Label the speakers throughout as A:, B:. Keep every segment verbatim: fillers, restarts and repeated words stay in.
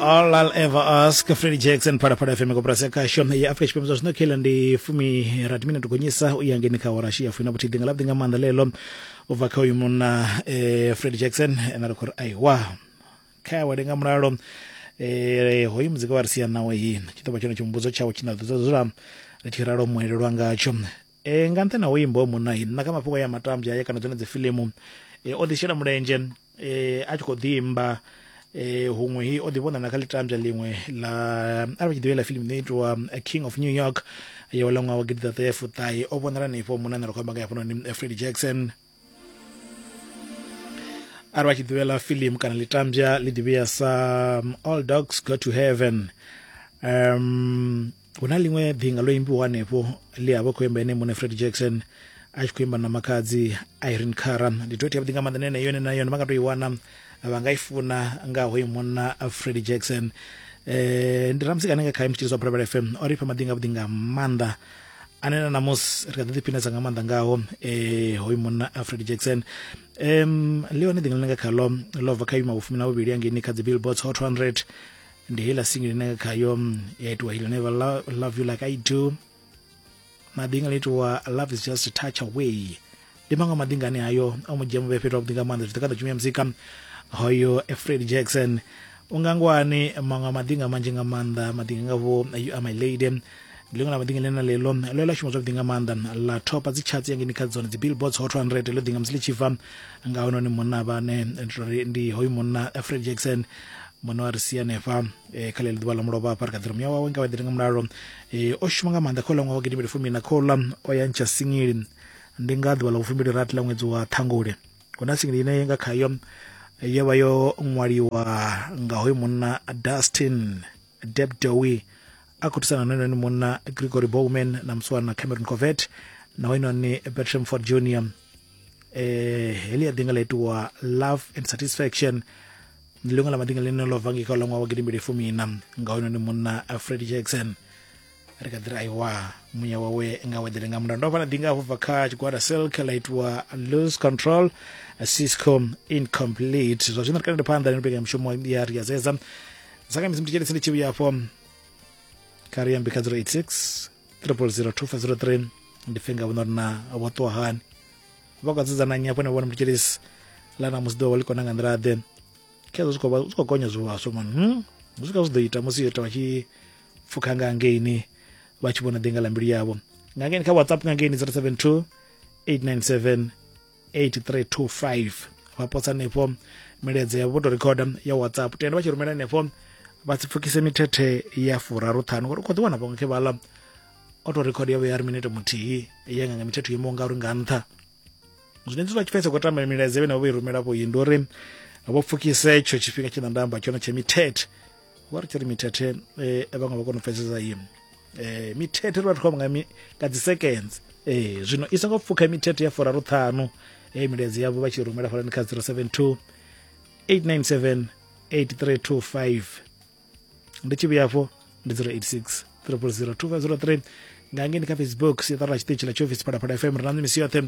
A: All I'll Ever Ask, Freddie Jackson, Phalaphala F M, koporasi ya khasho ya Afrika Tshipembe. Zwa zwino khela ndi fumi rathi minete gonyisa u ya ngeni kha awara ya fumi na vhuthihi nga ḽavhuḓi nga maanḓa lelo u bva kha uyu munna eh, Freddie Jackson ene ri khou ri aiwa kha awele nga mulalo. Eh, hoyu muzika wa ri sia nawe hi tshi ḓo vha tshone tshihumbudzo tshawe tshine ḓo dzula ri tshi ralo muelelwa ngatsho. Eh, nga nṱhani ha u imba hoyu munna hi na kha mafhungo ya matambya aya kana dzone dzi fiḽimu eh, o ḓi shela mulenzhe eh, a tshi khou ḓi imba eh huṅwe hi o ḓi vhona na kha ḽitambya ḽiṅwe ḽa arali tshi ḓivha ḽa fiḽimu ine itiwa King of New York ya ḽa ṅwaha wa gidiḓaṱahe fuṱahe o vhonala hanefho munna ane ra khou amba nga hafhanoni Freddie Jackson. Arali vha tshi ḓivha ḽa fiḽimu kana ḽitambya ḽi ḓivhea sa All Dogs Go to Heaven, um hu na ḽiṅwe ḓinga ḽo imbiwa hanefho ḽi havha khou imba ene muṋe Freddie Jackson a tshi khou imba na makhadzi Irene Cara. Ndi duet yavhuḓi nga maanḓa ine yone na yone vha nga tou i wana vha nga i funa nga hoyu munna Freddie Jackson. Eh ndi ramusi kana nga kha mutshiliso wa Phalaphala F M o ri fha maḓinga avhuḓi nga maanḓa ane na namusi ri kha ḓi ḓiphinesa nga maanḓa ngaho eh hoyu munna Freddie Jackson. Um ḽi hone ḓinga ḽine nga khalo ḽo bva kha ima vhufumi na vhuvhili hangeini kha dzi Billboard's Hot one hundred, ndi heiḽa single ine nga khayo ya itiwa He'll Never Love You Like I Do, na ḓinga ḽi itiwa Love Is Just a Touch Away. Ndi maṅwe maḓinga ane ayo o mu dzhia muvhe fhethu havhuḓi nga maanḓa zwi ḓi kha ḓo tshumia muzika hoyo Freddie Jackson. Ungangwani maṅwe maḓinga manzhi nga maanḓa, maḓinga nga vho You Are My Lady, ndi ḽiṅwe ḽa maḓinga ḽine na ḽeḽo ḽo ḽa shuma zwavhuḓi nga maanḓa ḽa thopa dzi charts yangeni kha dzone dzi Billboard's Hot one hundred ḽo ḓinga musi ḽi tshi bva nga hononi munna vhane ndi hoyu munna Freddie Jackson muṋe wa ri sia hanefha kha ḽeḽo ḓuvha ḽa mulovha hafha ri kha ḓi ri muya wawe nga vha ḓiri nga mulalo. O shuma nga maanḓa kha uḽa ṅwaha wa gidimbili fumi na khouḽa o ya ntsha singili ndi nga ḓuvha ḽa vhufumbili rathi ḽa ṅwedzi wa Ṱhangule. Hu na singili ine nga khayo yo vha yo ṅwaliwa nga hoyu munna Dustin Debdowi a khou thusana na hoyunoni munna Gregory Bowman na musiwana Cameron Covett na hoyunoni Bertram Ford Junior Eh heḽi ya ḓinga ḽa itiwa Love and Satisfaction, ndi ḽiṅwe ḽa maḓinga ḽine ḽo bva ngei kha uḽa ṅwaha wa gidimbili fumi-iṋa nga hoyunoni munna Freddie Jackson. Ri kha ḓi ri aiwa muya wawe nga weḓele nga mulalo. Ndo vha na ḓinga hafho bva kha tshigwada Silk ḽa itiwa Lose Control Cisco Incomplete. Zwa zwino ri kha phanḓa na mbekanyamushumo ya Ri a Zeza saka misi mutshele tsindi tshi vhuya afho kha ri ambe kha zero eight six triple zero two five zero three ndi pfe nga vhona uri na vho ṱuwa hani vha khou dzedzana nnyi afho ne vhona mutshilisi ḽa namusi ḓuvha ḽi kona nga nḓila ḓe khezwo zwi khou zwi khou gonya zwivhaswa mani hmm? Zwi kha zwi ḓo ita musi yo ita vha tshi pfukha nga ngeini vha tshi vhona ḓinga ḽa mbilu yavho nga ngeini kha WhatsApp nga ngeini zero seven two eight nine seven eight three two five vha posa hanefho milaedza yavho vho tou rikhoda ya WhatsApp tenda vha tshi rumela hanefho vha si pfukise mithethe ya furaru ṱhanu ngori u khou ḓi wana vhaṅwe khe vhaḽa o tou rikhoda yavho ya ri minete muthihi ya nga nga mithethe yo imaho ngauri nga nṱha. Zwine zwi vha tshi pfesa khou tamba milaedza vhene vho i rumela vho ndi uri vho pfukise tsho tshifhinga tshine nda amba tshone tsha mithethe vho ri tshi ri mithethe eh, vhaṅwe vha kona u pfesesa iyo eh, mithethe ri vha khou amba nga nga dzi seconds eh, zwino i songo pfukha mithethe ya furaru ṱhanu eh, milaedza yavho vha tshi rumela fhalani kha zero seven two eight nine seven eight three two five ndi tshi vhuya afho ndi zero eight six triple zero two five zero three nga ngeni kha Facebook siaṱari ḽa tshiṱitshi ḽa tshiofisi Phalaphala F M ri na misi yoṱhe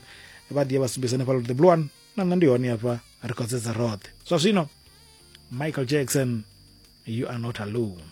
A: vha ḓi ya vha sumbedza hanefhaḽa the blue one na nṋe ndi hone hafha ri khou dzedza roṱhe. Zwa zwino Michael Jackson, You Are Not Alone.